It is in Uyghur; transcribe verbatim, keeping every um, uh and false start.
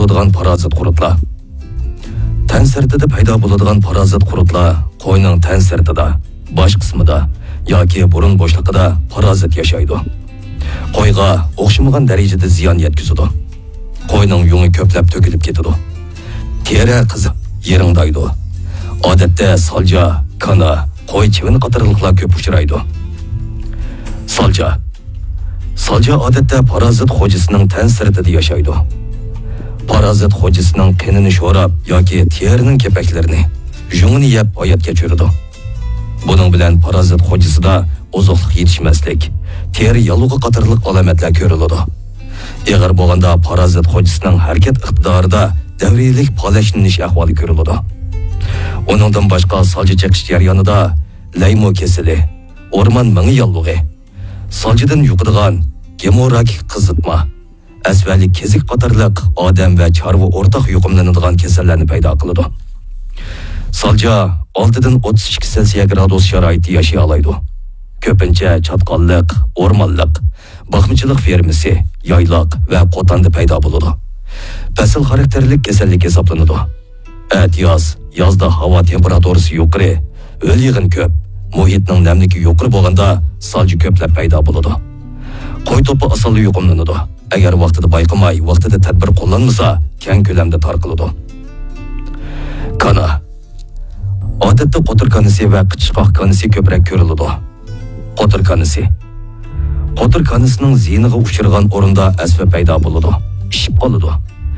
بولىدىغان پارازىت قۇرتلار. تەن سىرتىدا پەيدا بولىدىغان پارازىت قۇرتلار قوينىڭ تەن سىرتىدا، باش قىسمىدا ياكى بۇرۇن بوشلۇقىدا پارازىت ياشايدۇ. قويغا ئوخشىمىغان دەرىجىدە زىيان يەتكۈزىدۇ. قوينىڭ يۇڭى كۆپلەپ تۆكۈلۈپ كېتىدۇ. تېرە قىزىپ، يىرىڭدايدۇ. ئادەتتە سالجا، كانا، قوي چىۋىن قاتارلىقلار كۆپ ئۇچرايدۇ. سالجا. سالجا ئادەتتە پارازىت خوجىسىنىڭ تەن سىرتىدا ياشايدۇ. پارازىت خوجىسىنىڭ قېنىنى شوراپ ياكى تېرىنىڭ كېپەكلىرىنى، يۇڭىنى يەپ ھايات كەچۈرىدۇ. بۇنىڭ بىلەن پارازىت خوجىسىدا ئوزۇقلۇق يېتىشمەسلىك، تېرە ياللۇغى قاتارلىق ئالامەتلەر كۆرۈلىدۇ. ئېغىر بولغاندا پارازىت خوجىسىنىڭ ھەرىكەت ئىقتىدارىدا دەۋرىيلىك پالەچلىنىش ئەھۋالى كۆرۈلىدۇ. ئۇنىڭدىن باشقا سالجا چېقىش جەريانىدا لەيمو كېسىلى، ئورمان مېڭە ياللۇغى، سالجىدىن يۇقىدىغان گېموراگىك قىزىتما، ئەسۋەلىك كېزىك قاتارلىق ئادەم ۋە چارۋا ئورتاق يۇقۇملىنىدىغان كېسەللەرنى پەيدا قىلىدۇ. سالجا ئالتىدىن ئوتتۇز ئىككى سېلسىيە گرادۇس شارائىتتا ياشىيالايدۇ. كۆپىنچە چاتقاللىق، ئورمانلىق، باقمىچىلىق فېرمىسى، يايلاق ۋە قوتاندا پەيدا بولىدۇ. پەسىل خاراكتېرلىك كېسەللىك ھېسابلىنىدۇ. ئەتىياز، يازدا ھاۋا تېمپېراتۇرىسى يۇقىرى، ھۆل يېغىن كۆپ، مۇھىتنىڭ نەملىكى يۇقىرى بولغاندا سالجا كۆپلەپ پەيدا بولىدۇ. قوي توپى ئاسانلا يۇقۇملىنىدۇ. ئەگەر ۋاقتىدا بايقىماي، ۋاقتىدا تەدبىر قوللانمىسا، كەڭ كۆلەمدە تارقىلىدۇ. كانا. ئادەتتە قوتۇر كانىسى ۋە قىچىشقاق كانىسى كۆپرەك كۆرۈلىدۇ. قوتۇر كانىسى. قوتۇر كانىسىنىڭ زىيىنىغا ئۇچرىغان ئورۇندا ئەسۋە پەيدا بولىدۇ. ئىششىپ قالىدۇ.